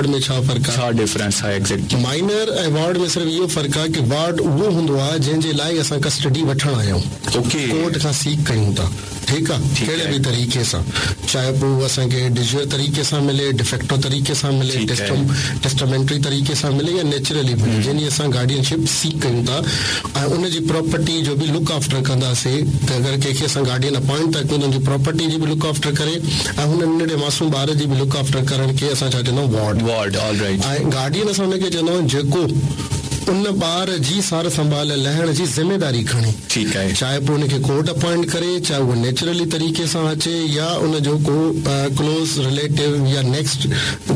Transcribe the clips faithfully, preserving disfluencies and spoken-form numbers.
Ward ۾ ڇا فرق آهي؟ ڇا ڊفرنس آهي ايگزيڪٽلي؟ مائنر ۽ وارڊ ۾ صرف اهو فرق آهي ڪه وارڊ اهو هوندو آهي جنهن جي لاء اسان ڪسٽڊي وٺڻ آيا آهيون. اوڪي. ڪورٽ کان سيڪ ڪيون ٿا. ٺيڪ آهي، ڪهڙي به طريقي سان، چاهي پوء اهو اسان کي ڊيجور طريقي سان ملي، ڊيفيڪٽو طريقي سان ملي، ٽيسٽامينٽري طريقي سان ملي يا نيچرلي ملي، جنهن جي اسان گارڊين شپ سيڪ ڪيون ٿا ۽ ان جي پراپرٽي جو به لڪ آفٽر ڪنداسين ته اگر ڪنهن کي اسان گارڊين اپائنٽ ٿا ڪيون ته ان جي پراپرٽي جي به لڪ آفٽر ڪري ۽ هن ننڍڙي معصوم ٻار جي به لڪ آفٽر ڪرڻ کي اسان ڇا چوندا آهيون ward. Ward all right. ۽ Guardian اسان ان کي چوندا آهيون جيڪو ان ٻار جي سار سنڀال لهڻ جي ذميداري کڻي. ٺيڪ آهي. چاهي پوء ان کي ڪورٽ اپائنٽ ڪري، چاهي اهو نيچرلي طريقي سان اچي يا ان جو ڪو ڪلوز رليٽو يا نيڪسٽ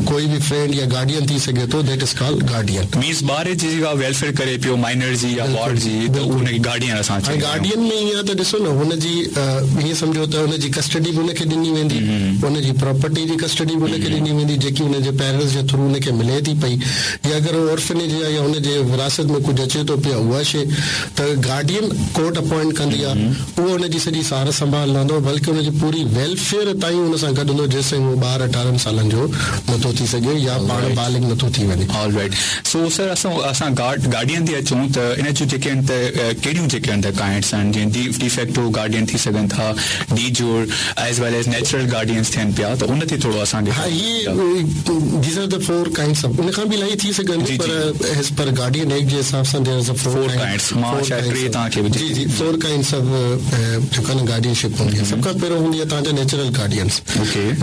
ڪوئي به فرينڊ يا گارڊين ٿي سگهي ٿو، that is called guardian. Means ٻار جي جيڪا ويلفيئر ڪري پيو مائنر جي يا وارڊ جي ته ان کي گارڊين اسان چوندا آهيون. ۽ گارڊين ۾ ائين آهي ته ڏسو نه هن جي ائين سمجهو ته ان جي ڪسٽڊي به ان کي ڏني ويندي، ان جي پراپرٽي جي ڪسٽڊي به ان کي ڏني ويندي جيڪي ان جي پيرنٽس جي ٿرو ان کي ملي ٿي پئي يا اگر هو اورفنيج آهي يا ان جي وراثت ۾ ڪجهه اچي ٿو پيو اها شيء ته گارڊين ڪورٽ اپائنٽ ڪندي آهي، اهو ان جي سڄي سار سنڀال لهندو بلڪه ان جي پوري ويلفيئر تائين ان سان گڏ هوندو جيستائين اهو ٻار اٺارهن سالن جو نٿو ٿي سگهي يا پاڻ بالغ نٿو ٿي وڃي. آل رائيٽ سو سر اسان اسان گارڊ گارڊين تي اچون ته ان جون جيڪي آهن ته ڪهڙيون جيڪي آهن ته ڪائنڊس آهن جيئن ڊي ڊيفيڪٽو گارڊين ٿي سگهن ٿا de jure as well as natural guardians ٿين پيا ته ان تي ٿورو اسان کي ها هي these are the four kinds of ان کان به الاهي ٿي سگهن ٿيون پر ايز پر گارڊين ايڪٽ جي حساب سان there is a four kinds مان شايد ٽي توهان کي جي جي فور ڪائنڊس آف جيڪا نه گارڊين شپ هوندي آهي سڀ کان پهريون هوندي آهي توهان جا نيچرل گارڊينس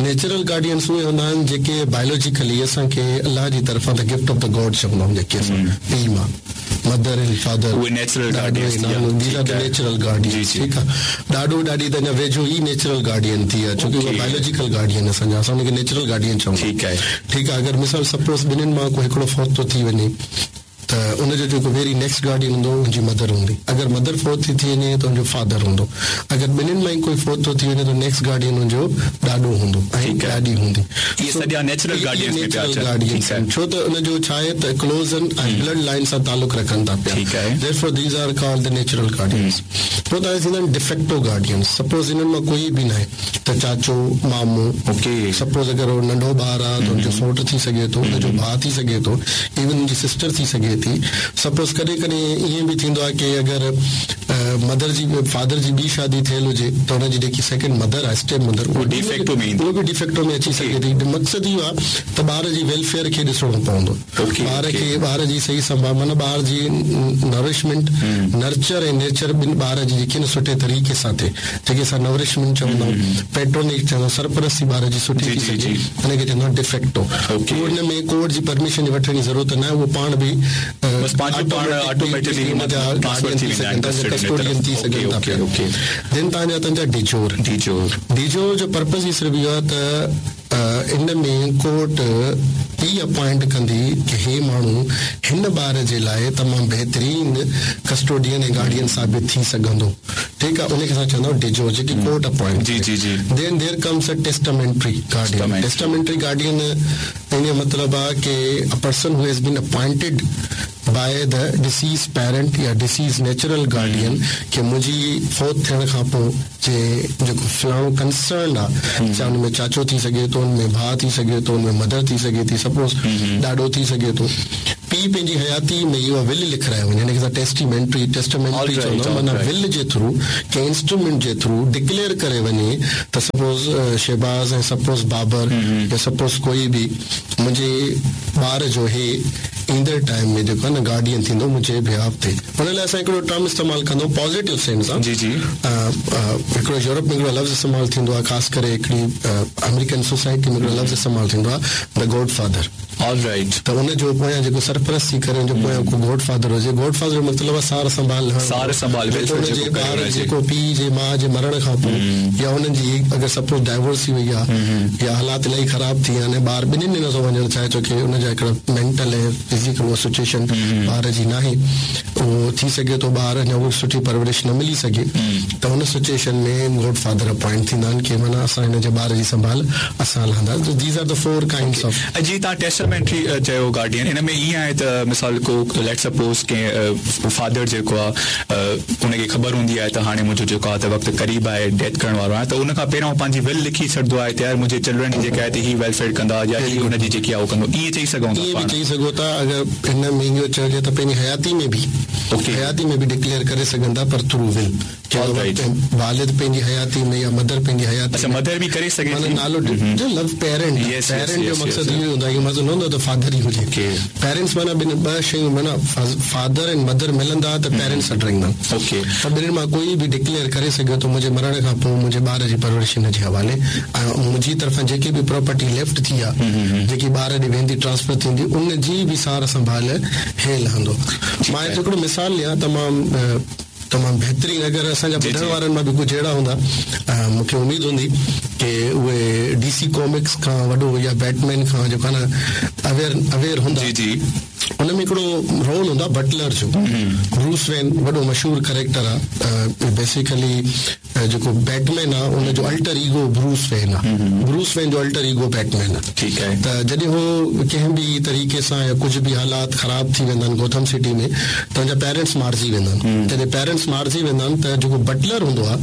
نيچرل گارڊينس اهي هوندا آهن جيڪي بايولوجيڪلي اسان کي الله جي طرفان the gift of the God چوندا آهيون جيڪي اسان پيء ماء مدر اينڊ فادر اهي نيچرل گارڊينس ٿي ويا these are the natural guardians ٺيڪ آهي ڏاڏو ڏاڏي ته اڃا ويجهو ئي نيچرل گارڊين ٿي ويا ڇو ڪي اهي بايولوجيڪل گارڊين اسان جا اسان ان کي نيچرل گارڊين چوندا ٺيڪ آهي ٺيڪ آهي اگر مثال سپوز ٻنهين مان ڪو هڪڙو فوت ٿو ٿي وڃي ته ان جو جيڪو ويري نيڪسٽ گارڊين هوندو ان جي مدر هوندي اگر مدر فوت ٿي ٿي وڃي ته ان جو فادر هوندو اگر ٻنهين مان ئي ڪوئي فوت ٿو ٿي وڃي ته نيڪسٽ گارڊين ان جو ڏاڏو هوندو ۽ ڏاڏي هوندي اهي سڄا نيچرل گارڊينس ۾ پيا اچن گارڊينس ڇو ته ان جو ڇا آهي ته ڪلوز آهن ۽ بلڊ لائن سان تعلق رکن ٿا پيا ٺيڪ آهي therefore these are called the natural guardians پوء توهان ٿيندا آهن ڊيفيڪٽو گارڊينس سپوز انهن مان ڪوئي به ناهي ته چاچو مامو اوڪي سپوز اگر هو ننڍو ٻار آهي ته ان جو سوٽ ٿي سگهي ٿو ان جو ڀاء ٿي سگهي ٿو ايون ان جي سسٽر ٿي سگهي ٿي سپوز ڪڏهن ڪڏهن ائين به ٿيندو آهي ڪي اگر مدر جي فادر جي ٻي شادي ٿيل هجي ته ان جي جيڪي سيڪنڊ مدر آهي اسٽيپ مدر اهو ڊيفيڪٽو ۾ ايندو اهو به ڊيفيڪٽو ۾ اچي سگهي ٿي مقصد اهو آهي ته ٻار جي ويلفيئر کي ڏسڻو پوندو ٻار کي ٻار جي صحيح سنڀال معنيٰ ٻار جي نرشمينٽ نرچر ۽ نيچر ٻن ٻار جي جيڪي نه سٺي طريقي سان ٿئي جيڪي اسان نرشمينٽ چوندا آهيون پيٽرونيج چوندا آهيون سرپرستي ٻار جي سٺي ٿي سگهي ان کي چوندا آهيون ڊيفيڪٽو ان ۾ ڪورٽ جي پرميشن وٺڻ جي ضرورت نه آهي اهو پاڻ به بس پنهنجو پاڻ آٽوميٽڪلي گارڊين ٿي سگهن ٿا ڪسٽوڊين ٿي سگهن ٿا پيا دين توهان جا تنهنجا ڊيجور ڊيجور ڊيجور جو پرپز ئي صرف اهو آهي ته ان ۾ ڪورٽ ئي اپائنٽ ڪندي ڪي هي ماڻهو هن ٻار جي لاء تمام بهترين ڪسٽوڊين ۽ گارڊين ثابت ٿي سگهندو ٺيڪ آهي ان کي اسان چوندا آهيون ڊيجور جيڪي ڪورٽ اپائنٽ جي جي جي then there comes a testamentary guardian testamentary guardian ان جو مطلب آهي ڪي a person who has been appointed by the deceased parent يا ڊسيز نيچرل گارڊين ڪي منهنجي فوت ٿيڻ کان پوءِ جي جيڪو فلاڻو ڪنسرن آهي چاهي ان ۾ چاچو ٿي سگهي ٿو ان ۾ ڀاءُ ٿي سگهي ٿو ان ۾ مدر ٿي سگهي ٿي سپوز ڏاڏو ٿي سگهي ٿو پيءُ پنهنجي حياتي ۾ اها ول لکرائي وڃي هن کي اسان ٽيسٽيمينٽري ٽيسٽامينٽري چوندا آهيون معنيٰ ول جي ٿرو ڪنهن انسٽرومينٽ جي ٿرو ڊڪليئر ڪري وڃي ته سپوز شهباز ۽ سپوز بابر يا سپوز ڪوئي به منهنجي ٻار جو هي ايندڙ ٽائيم ۾ جيڪو آهي نه گارڊين ٿيندو منهنجي بهاف تي ان لاءِ اسان هڪڙو ٽرم استعمال ڪندا آهيون پازيٽو سينس سان جي جي هڪڙو يورپ ۾ هڪڙو لفظ استعمال ٿيندو آهي خاص ڪري هڪڙي آمريڪن سوسائٽي ۾ هڪڙو لفظ استعمال ٿيندو آهي the God father all right ته ان جو پويان جيڪو سرپرستي ڪري ان جو پويان ڪو گاڊ فادر هجي گاڊ فادر جو مطلب آهي سار سنڀال لهڻ سار سنڀال جي ٻار جيڪو پيءُ جي ماءُ جي مرڻ کان پوءِ يا هنن جي اگر سپوز ڊائيورس ٿي وئي آهي يا حالات الاهي خراب ٿي ويا آهن ٻار ٻنهن ۾ نٿو وڃڻ چاهي ڇو ڪي ان جا هڪڙا مينٽل ۽ فزيڪل اها سچوئيشن ٻار جي ناهي اهو ٿي سگهي ٿو ٻار اڃا اها سٺي پرورش نه ملي سگهي ته هن سچوئيشن ۾ گاڊ فادر اپائنٽ ٿيندا آهن ڪي معنيٰ اسان هن جي ٻار جي سنڀال اسان لهنداسين these are the four kinds of جي توهان ٽيسٽامينٽ ٽيسٽامينٽري چيو گارڊين ان ۾ ائين آهي ته مثال ڪو let suppose ڪنهن فادر جيڪو آهي ان کي خبر هوندي آهي ته هاڻي منهنجو جيڪو آهي ته وقت قريب آهي ڊيٿ ڪرڻ وارو آهي ته ان کان پهريون پنهنجي ول لکي ڇڏندو آهي ته يار منهنجي چلڊرن جيڪا آهي ته هي ويلفيئر ڪندا يا هي هن جي جيڪي آهي اهو ڪندو ائين چئي سگهون ٿا ائين به چئي سگهو ٿا اگر هن ۾ اهو چئجي ته پنهنجي حياتي ۾ به حياتي ۾ به ڊڪليئر ڪري سگهن ٿا پر ٿرو ول والد پنهنجي حياتي ۾ يا مدر پنهنجي حياتي اڇا مدر به ڪري سگهي ٿي نالو جو لفظ پيرنٽ پيرنٽ جو مقصد اهو هوندو آهي مطلب نه هوندو ته فادر ئي هجي پيرنٽس معنيٰ ٻن ٻه شيون معنيٰ فادر ۽ مدر ملندا ته پيرنٽس سڏرائيندا اوڪي ته ٻنهن مان ڪوئي به ڊڪليئر ڪري سگهيو ته منهنجي مرڻ کان پوءِ منهنجي ٻار جي پرورش هن جي حوالي ۽ منهنجي طرفان جيڪي به پراپرٽي ليفٽ ٿي آهي جيڪي ٻار ڏي ويندي ٽرانسفر ٿيندي ان جي به سار سنڀال هي لهندو. مان هتي هڪڙو مثال ڏيان تمام تمام بهترين اگر اسان جا ٻڌڻ وارن مان به ڪجهه اهڙا هوندا مون کي اميد هوندي ڪه اهي ڊي سي ڪامڪس کان وڏو يا بيٽمين کان جيڪو آهي نه اويئر اويئر هوندا. جي جي ان ۾ هڪڙو رول هوندو آهي بٽلر جو. بروس وين وڏو مشهور ڪريڪٽر آهي. بيسيڪلي جيڪو بيٽمين آهي ان جو الٽر ايگو بروس وين آهي. بروس وين جو الٽر ايگو بيٽمين آهي. ٺيڪ آهي. ته جڏهن هو ڪنهن به طريقي سان يا ڪجهه به حالات خراب ٿي ويندا آهن گوٿم سٽي ۾ ته هن جا پيرنٽس مارجي ويندا آهن. جڏهن پيرنٽس مارجي ويندا آهن ته جيڪو بٽلر هوندو آهي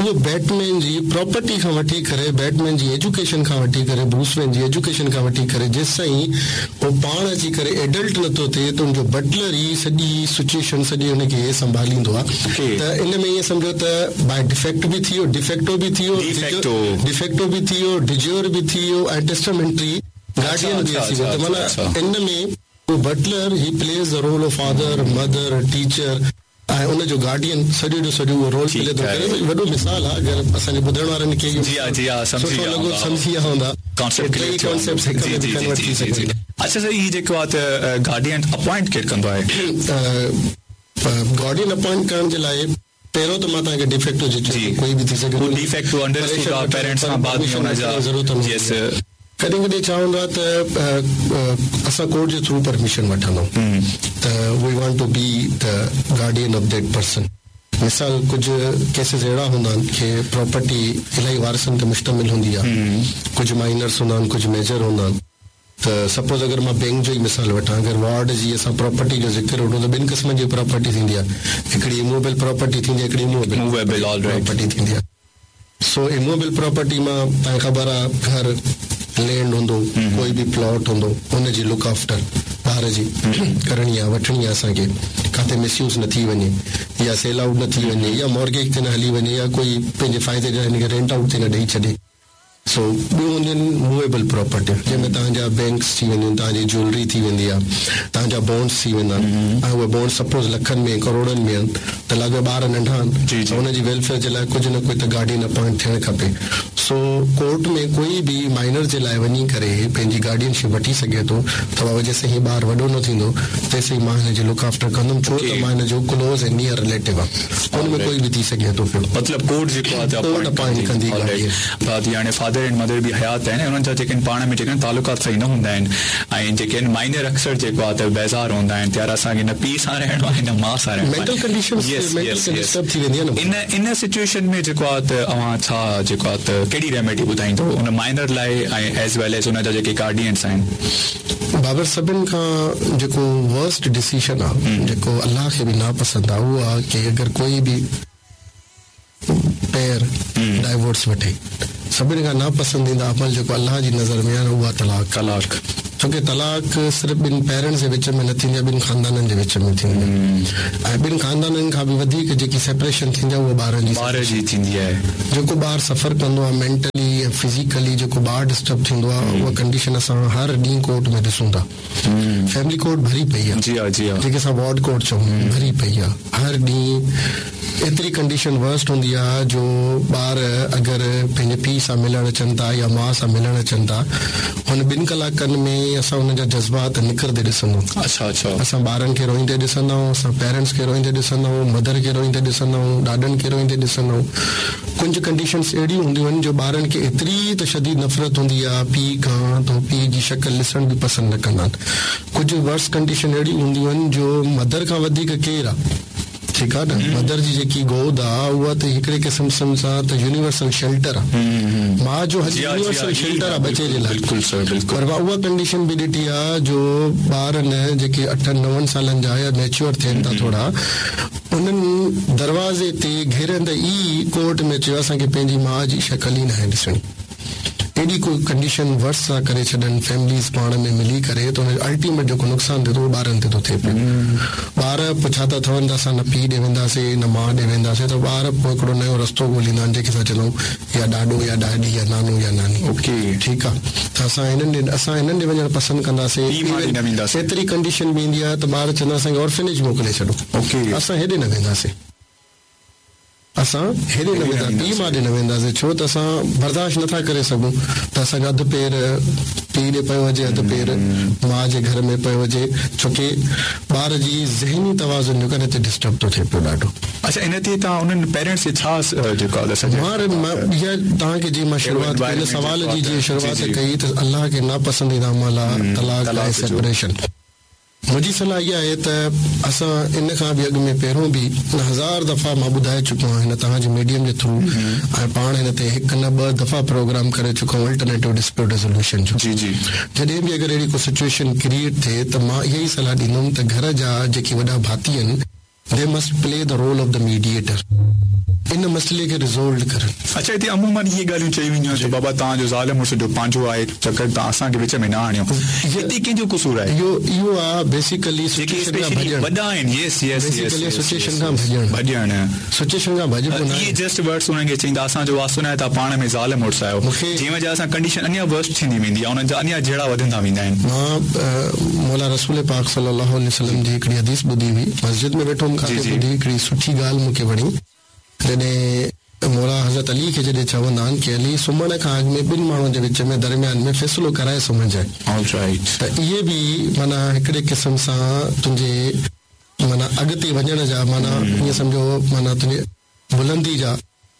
اهو بيٽمين جي پراپرٽي کان وٺي ڪري بيٽمين جي ايجوڪيشن کان وٺي ڪري بروس وين جي ايجوڪيشن کان وٺي ڪري جيس تائين هو پاڻ اچي ڪري ايڊلٽ نٿو ٿئي ته ان جو بٽلر ئي سڄي سچوئيشن سڄي هن کي سنڀاليندو آهي. ته ان ۾ ائين سمجهو ته باءِ ڊفيڪٽ به ٿي ويو ڊفيڪٽو به ٿي ويو ڊفيڪٽو به ٿي ويو ڊجور به ٿي ويو ۽ ٽيسٽامينٽري گارڊين به اچي ويو. ته معنيٰ ان ۾ butler he plays the role of father mother teacher ۽ ان جو گارڊين سڄو جو سڄو اهو رول پلي ٿو ڪري. وڏو مثال آهي اگر اسان جي ٻڌڻ وارن کي سٺو لڳو سمجهي ويا هوندا. اڇا سر هي جيڪو آهي ته گارڊين اپوائنٽ ڪير ڪندو آهي؟ گارڊين اپوائنٽ ڪرڻ جي لاءِ پهريون ته مان توهان کي ڊفيڪٽو جي چيو ڪوئي به ٿي سگهي ٿو. ڊفيڪٽو انڊرسٽوڊ آهي پيرنٽس کان بعد ۾ ان جا يس. ڪڏهن ڪڏهن ڇا هوندو آهي ته اسان ڪورٽ جي ٿرو پرميشن وٺندا آهيون ته we want to be the guardian of that person. مثال ڪجهه ڪيسز اهڙا هوندا آهن ڪه پراپرٽي الاهي وارثن تي مشتمل هوندي آهي. ڪجهه مائنرس هوندا آهن ڪجهه ميجر هوندا آهن. ته سپوز اگر مان بينڪ جو ئي مثال وٺان اگر وارڊ جي اسان پراپرٽي جو ذڪر وٺون ته ٻن قسمن جي پراپرٽي ٿيندي آهي. هڪڙي اموويبل پراپرٽي ٿيندي آهي هڪڙي اموويبل پراپرٽي ٿيندي آهي. سو اموويبل پراپرٽي مان توهان کي خبر آهي گهر لينڊ هوندو ڪوئي به پلاٽ هوندو ان جي لڪ آفٽر ٻار جي ڪرڻي آهي وٺڻي آهي اسان کي ڪاٿي مس يوز نه ٿي وڃي يا سيل آئوٽ نه ٿي وڃي يا مارگيج تي نه هلي وڃي يا ڪوئي پنهنجي فائدي لاءِ هن کي رينٽ آئوٽ تي نه ڏيئي ڇڏي. سو ٻيون هونديون آهن موويبل پراپرٽيون جنهن ۾ توهان جا بينڪس ٿي وينديون آهن توهان جي جيولري ٿي ويندي آهي توهان جا بانڊس ٿي ويندا آهن ۽ اهي بانڊ سپوز لکن ۾ ڪروڙن ۾ آهن ته لڳي ٻار ننڍا آهن ته هن جي ويلفيئر جي لاءِ ڪجهه نه ڪجهه ته گارڊين اپوائنٽ ٿيڻ کپي. سو ڪورٽ ۾ ڪوئي به مائنر جي لاءِ وڃي ڪري پنهنجي گارڊينشپ وٺي سگهي ٿو ته بابا جيسين هيءُ ٻار وڏو نه ٿيندو تيسين مان هن جي لڪ آفٽر ڪندم ڇو ته مان هن جو ڪلوز ۽ نيئر رليٽو آهي. ان ۾ ڪوئي به ٿي سگهي ٿو پيو. مطلب ڪورٽ جيڪو آهي ڪورٽ اپوائنٽ ڪندي. هاڻي فادر اينڊ مدر به حيات آهن انهن جا جيڪي پاڻ ۾ جيڪي تعلقات صحيح نه هوندا آهن ۽ جيڪي آهن مائنر اڪثر جيڪو آهي ته بيزار هوندا آهن ته يار اسان کي نه پيءُ سان رهڻو آهي نه ماءُ سان رهڻو آهي. ٿي ويندي آهي نه ان ان سچوئيشن ۾ جيڪو آهي ته اوهان ڇا جيڪو آهي ته ڪهڙي ريميڊي ٻڌائيندو ان مائنر لاءِ ۽ ايز ويل ايز ان جا جيڪي گارڊينس آهن؟ بابر سڀني کان جيڪو ورسٽ ڊسيشن آهي جيڪو الله کي به ناپسند آهي اهو آهي ڪه اگر ڪوئي به پير ڊائيورس وٺي. سڀني کان ناپسنديده عمل جيڪو الله جي نظر ۾ آهي اها طلاق. طلاق ڇو ڪه طلاق صرف ٻن پيرنٽس جي وچ ۾ نه ٿيندي آهي ٻن خاندانن جي وچ ۾ ٿيندي آهي ۽ ٻن خاندانن کان به وڌيڪ جيڪي سيپريشن ٿيندي آهي اها ٻارن جي ٻار جي ٿيندي آهي. جيڪو ٻار سفر ڪندو آهي مينٽلي ۽ فزيڪلي جيڪو ٻار ڊسٽرب ٿيندو آهي اها ڪنڊيشن اسان هر ڏينهن ڪورٽ ۾ ڏسون ٿا. فيملي ڪورٽ ڀري پئي آهي. جي ها جي ها جيڪي اسان وارڊ ڪورٽ چئون ڀري پئي آهي. هر ڏينهن ايتري ڪنڊيشن ورسٽ هوندي آهي جو ٻار اگر پنهنجي پيءُ سان ملڻ اچن ٿا يا ماءُ سان ملڻ اچن ٿا هن ٻن ڪلاڪن ۾ اسان هن جا جذبات نڪرندي ڏسندا آهيون. اڇا اڇا اسان ٻارن کي روئيندي ڏسندا آهيون اسان پيرنٽس کي روئيندي ڏسندا آهيون مدر کي روئيندي ڏسندا آهيون ڏاڏن کي روئيندي ڏسندا آهيون. ڪجهه ڪنڊيشنس اهڙيون هونديون آهن جو ٻارن کي ايتري ته شديد نفرت هوندي آهي پيءُ کان ته پيءُ جي شڪل ڏسڻ به پسند نه ڪندا آهن. ڪجهه ورس ڪنڊيشن اهڙيون هونديون آهن جو مدر کان وڌيڪ ڪير آهي ठीकु आहे न, मदर जी जेकी गोद आहे उहा त हिकिड़े क़िस्म सां त यूनिवर्सल शेल्टर आहे, माउ जो यूनिवर्सल शेल्टर आहे बच्चे जे लाइ। बिल्कुलु सर, बिल्कुलु। पर मां उहा कंडीशन बि ॾिठी आहे जो ॿार न जेके अठनि नवनि सालनि जा या मैच्योर थियनि था थोरा, उन्हनि दरवाज़े ते घिरंदे ई कोर्ट में चयो असांखे पंहिंजी माउ जी शक्ल ई नाहे ॾिसणी। एॾी को कंडीशन वर्स था करे छॾनि फैमिलीज़ पाण में मिली करे त हुन अल्टीमेट जेको नुक़सानु थिए थो उहो ॿारनि ते थो थिए पियो। ॿार पुछा था ठहनि त असां न पीउ ॾे वेंदासीं न माउ ॾे वेंदासीं, त ॿार पोइ हिकिड़ो नयो रस्तो ॻोल्हींदा आहिनि जंहिंखे असां चवंदा आहियूं या ॾाॾो या ॾाॾी या नानो या नानी। ओके, ठीकु आहे, त असां हिननि ॾे असां हिननि ॾे वञणु पसंदि कंदासीं। एतिरी कंडीशन बि ईंदी आहे त ॿार चवंदा असांखे ऑर्फनेज मोकिले छॾो, ओके, असां हेॾे न वेंदासीं, असां हेॾे न वेंदा, पीउ माउ ॾे न वेंदासीं, छो त असां बर्दाश्त नथा करे सघूं त असांजो अधु पेर पीउ ॾे पियो हुजे, अधु पेर माउ जे घर में पियो हुजे, छोकी ॿार जी ज़हनी तवाज़ुन जेको आहे हिते डिस्टर्ब थो थिए पियो ॾाढो। अच्छा, इन ते तव्हां उन्हनि पेरेंट्स खे छा जेको आहे मां इहा तव्हांखे जीअं मां शुरूआत कई, हिन सवाल जी जीअं शुरूआत कई त अलाह खे नापसंदीदा अमल आहे तलाक़ ऐं सेपरेशन। मुंहिंजी सलाह इहा आहे त असां इन खां बि अॻु में पहिरियों बि हज़ार दफ़ा मां ॿुधाए चुको आहियां हिन तव्हांजे मीडियम जे थ्रू, ऐं पाण हिन ते हिकु न ॿ दफ़ा प्रोग्राम करे चुको आहियां अल्टरनेटिव डिस्प्यूट रेज़ोल्यूशन जो। जी जी, जॾहिं बि अगरि अहिड़ी को सिचुएशन क्रिएट थिए त मां इहा ई सलाह ॾींदुमि त घर जा जेके वॾा भाती आहिनि they must play the role of the mediator, इन मसइले खे रिज़ॉल्व करण। अच्छा, हिते अमूमन इहे ॻाल्हियूं चई वेंदियूं आहिनि त बाबा तव्हांजो ज़ाल मुड़ुस जो पंहिंजो आहे चक्कर, तव्हां असांखे विच में न आणियो, हिते कंहिंजो कसूर आहे? इहो इहो आहे बेसिकली जेके वॾा आहिनि, यस यस बेसिकली सिचुएशन खां भॼणु, भॼणु सिचुएशन खां भॼिबो न। इहे जस्ट वर्ड्स उन्हनि खे चईंदा असांजो वास्तो न आहे, तव्हां पाण में ज़ाल मुड़ुस आहियो, जंहिं वजह सां कंडीशन अञा वर्स्ट थींदी वेंदी आहे, उन्हनि जा अञा झेड़ा वधंदा वेंदा आहिनि। मां मौला रसूल पाक सल्लल्लाहु अलैहि वसल्लम जी हिकिड़ी हदीस ॿुधी हुई, मस्जिद में वेठो हुउमि, काथे ॿुधी, हिकिड़ी सुठी ॻाल्हि मूंखे वणी। जॾहिं मौला हज़रत अली खे जॾहिं चवंदा आहिनि की अली सुम्हण खां अॻु में ॿिनि माण्हुनि जे विच में दरमियान में फ़ैसिलो कराए सुम्हजांइ, त इहे बि माना हिकिड़े क़िस्म सां तुंहिंजे माना अॻिते वञण जा, माना ईअं सम्झो माना तुंहिंजे बुलंदी जा,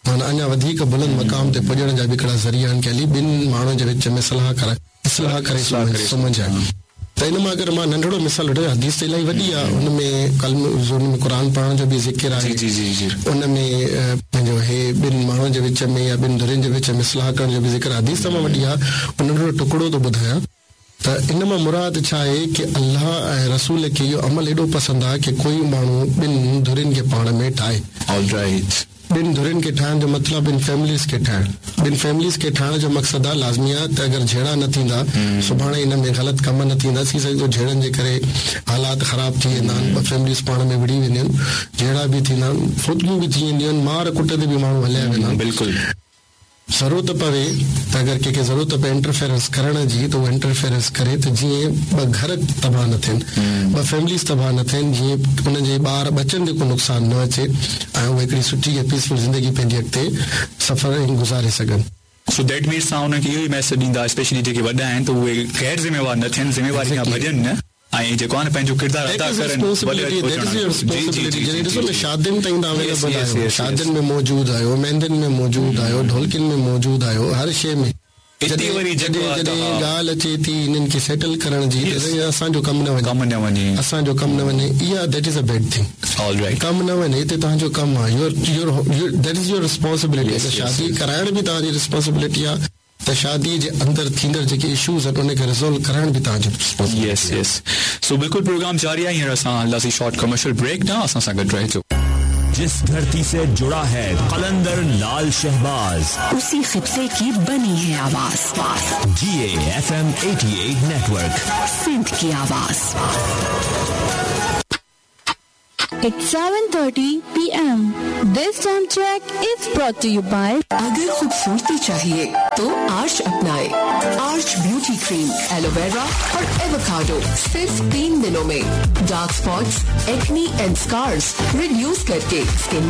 माना अञा वधीक बुलंद मक़ाम ते पुॼण जा बि हिकिड़ा ज़रिया आहिनि की अली ॿिनि माण्हुनि जे विच में सलाह कराए इस्लाह करे सुम्हजांइ। त इन मां अगरि मां नंढड़ो मिसाल वठां, हदीस त इलाही वॾी आहे, हुन में कलम हुन में क़ुर पढ़ण जो बि ज़िक्र आहे, जी जी जी, उन में पंहिंजो हे ॿिनि माण्हुनि जे विच में या ॿिनि धुरियुनि जे विच में सलाह करण जो बि ज़िक्र, हदीस तमामु वॾी आहे, उन नंढड़ो टुकड़ो थो ॿुधायां। त इन मां मुराद छा आहे की अलाह ऐं रसूल खे इहो अमल एॾो पसंदि आहे की कोई माण्हू ॿिनि धुरियुनि खे पाण में ठाहे। ऑलराइट, ॿिनि धुरियुनि खे ठाहिण जो मतिलबु ॿिनि फैमिलीज़ खे ठाहिणु, ॿिनि फैमिलीज़ खे ठाहिण जो मक़सदु आहे लाज़मी आहे त अगरि झेड़ा न थींदा, सुभाणे इन में ग़लति कम न थींदा, थी सघे थो झेड़नि जे करे हालात ख़राबु थी वेंदा आहिनि, ॿ फैमिलीज़ पाण में विड़ी वेंदियूं आहिनि, झेड़ा बि थींदा आहिनि, फुतगियूं बि थी वेंदियूं आहिनि, मार कुट ते बि माण्हू हलिया वेंदा आहिनि। बिल्कुलु, ज़रूरत पवे त अगरि कंहिंखे ज़रूरत पए इंटरफेरेंस करण जी त उहो इंटरफेरेंस करे त जीअं ॿ घर तबाह न थियनि, ॿ फैमिलीज़ तबाह न थियनि, जीअं उन्हनि जे ॿार बच्चनि ते को नुक़सानु न अचे ऐं उहे हिकिड़ी सुठी ऐं पीसफुल ज़िंदगी पंहिंजी अॻिते सफ़र गुज़ारे सघनि। सो that means तव्हां उन्हनि खे इहो ई मैसेज ॾींदा स्पेशली जेके वॾा आहिनि त उहे ग़ैर ज़िम्मेवार न थियनि, ज़िम्मेवारी खां भॼनि न ऐं जेको आहे न पंहिंजो किरदारु अदा करनि। जॾहिं ॾिसो न शादियुनि ताईं तव्हां अवेलेबल आहियो, शादियुनि में मौजूदु आहियो, मेहंदियुनि में मौजूदु आहियो, ढोलकियुनि में मौजूदु आहियो, हर शइ में। हिते वरी जॾहिं जॾहिं ॻाल्हि अचे थी हिननि खे सेटल करण जी त असांजो कमु न वञे, कमु न वञे, असांजो कमु न वञे, इहा that is a bad thing. Alright, कमु न वञे हिते तव्हांजो कमु आहे, your your that is your responsibility. शादी कराइण बि तव्हांजी रिस्पॉन्सिबिलिटी आहे त शादी जे अंदरि थींदड़ जेके इशूज़ आहिनि उनखे रिज़ॉल्व कराइण बि तव्हांजी रिस्पॉन्सिबिलिटी। यस यस, सो बिल्कुलु प्रोग्राम जारी आहे। हींअर असां हलंदासीं शॉर्ट कमर्शियल ब्रेक न, असां सां गॾु रहिजो। जिस धरती से जुड़ा है कलंदर लाल शहबाज, उसी खित्ते की बनी है आवाज। G A F M eighty eight network, Sindh की आवाज। It's seven thirty P M. This time check is brought to you by. अगर खूबसूरती चाहिए तो आर्च अपनाए। Arch beauty cream, aloe vera और एवोकाडो सिर्फ तीन दिनों में dark spots, acne and scars reduce करके स्किन